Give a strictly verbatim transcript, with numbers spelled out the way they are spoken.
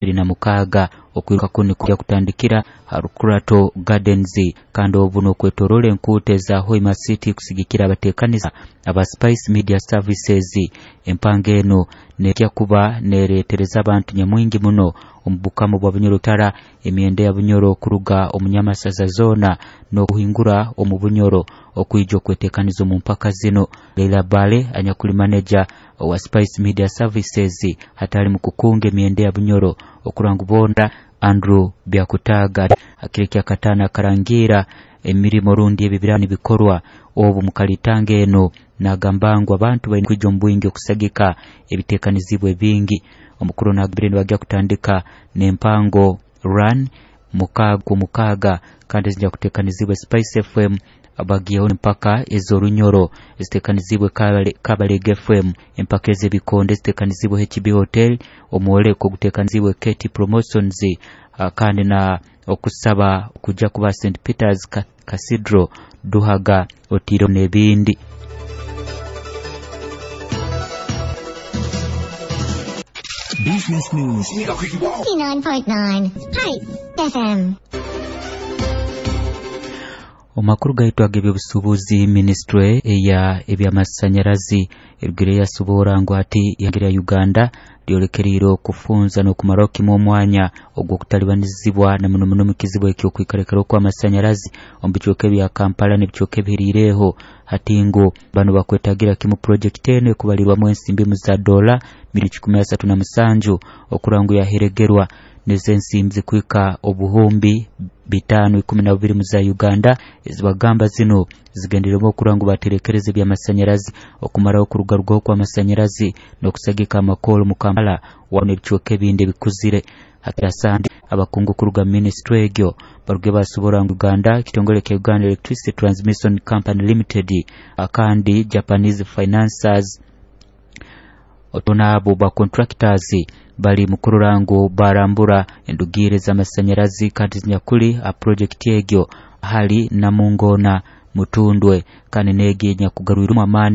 ibiri na mukaaga. Okwiruka kunu kujya kutandikira ha Rukurato Gardens, kandi obu n'okwetorola enkuuto eza Hoima City kusigikira abateekaniza aba Spice Media Services. Empanga eno nejya kuba nereetereza abantu nyamwingi muno omu bukama bwa Bunyoro Tara, emyenda ya Bunyoro kuruga omu Nyamasaza zoona n'okuhingura omu Bunyoro okwija okweteekaniza omu mpaka zino. Leila Bale anyakuli manager owa Spice Media Services hatali mu kukunga emyenda ya Bunyoro okurangu bonda Andrew Byakutaga akiro kya kataano akarangira emirimo rundi ebibira nibikorwa obu mukalitanga eno, nagamba ngu abantu baine kwija omu bwingi okusagika ebiteekanizibwe bingi. Omukuru nagambire nibajya kutandika n'empango run mukaaga ku mukaaga, kandi zijja kuteekanizibwa Spice F M, bagiyeho empaka ez'orunyoro eziteekanizibwe Kabalega F M, empaka ez'ebikonde eziteekanizibwe H B Hotel, omworeko oguteekanizibwe K T Promotions, kandi na okusaba kujja kuba Saint Peter's Cathedral Duhaga otiro n'ebindi. Business News nine point nine Spice F M. Omakuru gaitu ag'ebyobusuubuzi, ministry eya ebyamasanyarazi erugire yasobora ngu ati ihanga lya Uganda lyolekereire okufunza n'okumaraho kimwe omwanya ogw'okutalibanizibwa na muno muno mu kizibu eky'okwikarekera okw'amasanyarazi omu bicweka ebya Kampala n'ebicweka ebihiriireho. Hati ngu bano bakwetagira kimu project eno ekubalirwamu ensimbi mu za dola milioni kikumi asatu na musanju okurangu yaheregerwa n'ezensimbi zikwika obuhumbi bitaano ikumi na bubiri mu za Uganda. Ezibagamba zino zigendererwa okurangu baterekereze by'amasanyarazi okumaraho okurugarugaho kw'amasanyarazi n'okusagika amakoro mu Kampala wamu n'ebicweka ebindi ebikuzire. Hakirasandi abakungu kuruga ministry egyo baruge basobora ngu Uganda ekitongole kya Uganda Electricity Transmission Company Limited akandi Japanese financiers otonabo ba contractors bali mukurora ngu barambura endugire z'amasanyarazi kandi zinyakuli a project egyo hali Namungona Mutundwe kandi negi nyakugarwiremu amaani.